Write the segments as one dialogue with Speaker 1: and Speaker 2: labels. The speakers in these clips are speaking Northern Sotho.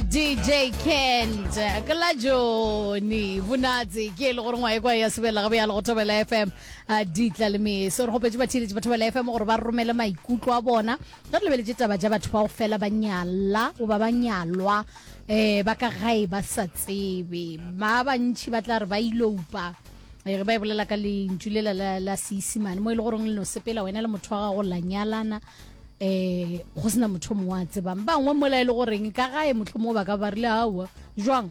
Speaker 1: DJ Kent ke la Johnny Bonatse ke e le gore ngwa e kwa ya sebela gabe ya le go Thobela FM a ditla le meso re gopetse batheeletši ba Thobela FM gore ba romele maikutlo a bona ge re lebeletše taba tša batho ba go fela ba nyala goba ba nyalwa um ba ka gae ba sa tsebe ba bantši ba tla re ba iloupa eh, ge ba e bolela ka lentšu lela la, la seisimane mo e le goreng le no sepela wena le motho wa gago la nyalana um go sena motho mongwe a tsebang bangwe mola e le goreng ka gae motlho mongwe ba ka ba rile aowa jwang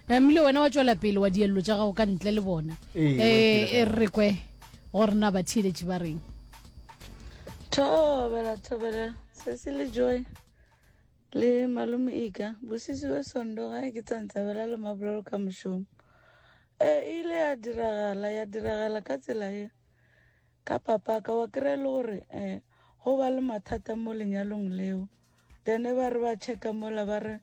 Speaker 1: emile wena wa tšwela pele wa dielelo tša gago ka ntle le bona um e re kwe gore na batheeletši ba reng
Speaker 2: thobela thobela sesi le joy le malome ika bosisi we sondo gae ke tsantsabela le mabolelo ka mošomo e ile ya diragala ya diragala ka tsela ye Ka papaka wa kry-a e le gore um go ba le mathata mo lenyalong leo then ba re ba checka mola ba re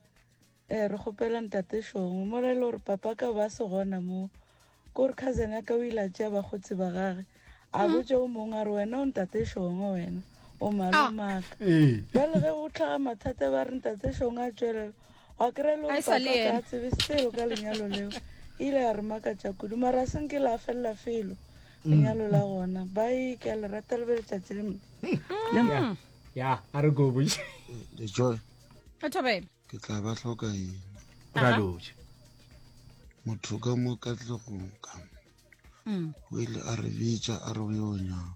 Speaker 2: um re kgopela ntate Shongwe mola e le gore papa ka ba se gona moo kore cousin ya ka o ile a tšea bakgotsi ba gage a mm. botša o mongwe a re wena o ntate Shongwe wena o malomaka ah. bjale ge go tlhaga mathata ba re ntate Shongwe a tšwelela wa kry-a e le gore papa ka tsebe selo ka lenyalo leo ile ya re makatša kudu mara a senke la felela felo lenyalo la gona bai ke a le rata le be letšatši le
Speaker 3: ya ya a re go botše
Speaker 4: Le Joy,
Speaker 1: Re thobela.
Speaker 4: ke tla ba hloka eng?
Speaker 3: ra lotše
Speaker 4: Motho ka mo Katlegong ka mo.
Speaker 1: Mm.
Speaker 4: O ile a re bitša a re o yo nyaka.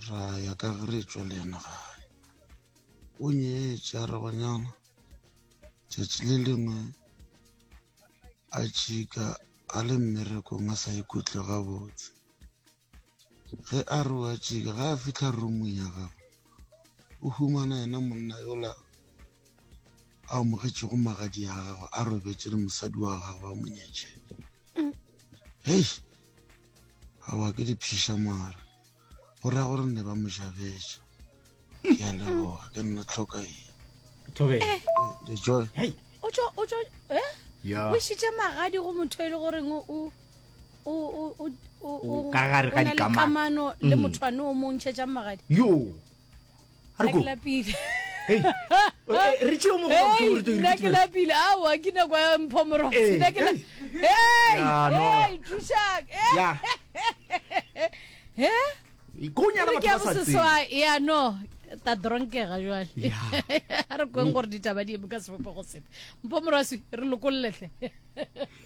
Speaker 4: Ra ya ka ge re tšwa le yena gae. O nyetše a re go nyala. Tšatši le lengwe a tšhika a le mmerekong a sa ikutlwe gabotse. Ge a re wa tšika, ge a fihla roomong ya gagwe, o humana yena monna yola a amogetšego magadi a gagwe a robetše le mosadi wa gagwe a mo nyetšego. Hei, aowa ke diphiša mara. Go ra gore ne ba mo jabetše. Ke a leboga, ke nna tlhoka eng.
Speaker 3: Thobela.
Speaker 1: Eh.
Speaker 4: Le Joy.
Speaker 3: Hey.
Speaker 1: O tšo o tšo eh?
Speaker 3: Ya.
Speaker 1: O išitše magadi go motho e le goreng o o o o o
Speaker 3: O ka gare ga
Speaker 1: o na le
Speaker 3: dikamano.
Speaker 1: kamano le
Speaker 3: Mm.
Speaker 1: motho ane o mo ntšhetšang magadi.
Speaker 3: Yo. A re
Speaker 1: Nna
Speaker 3: go.
Speaker 1: ke lapile.
Speaker 3: Hey. Eh, Re tšeo mo go
Speaker 1: Hey,
Speaker 3: re
Speaker 1: nna ke lapile aowa ke nako ya mpho morotsi
Speaker 3: Eh,
Speaker 1: nna ke la
Speaker 3: hey.
Speaker 1: hey
Speaker 3: Ya, no.
Speaker 1: hey thušang Eh.
Speaker 3: Ya.
Speaker 1: he
Speaker 3: Ko nyala
Speaker 1: re ke ya
Speaker 3: batho ba sa tsebe.
Speaker 1: boseswai ya no ta dronkega jwale
Speaker 3: Ya.
Speaker 1: a re kweng gore ditaba di eme ka sebopego sefe mpho morwasi re lokolletlhe.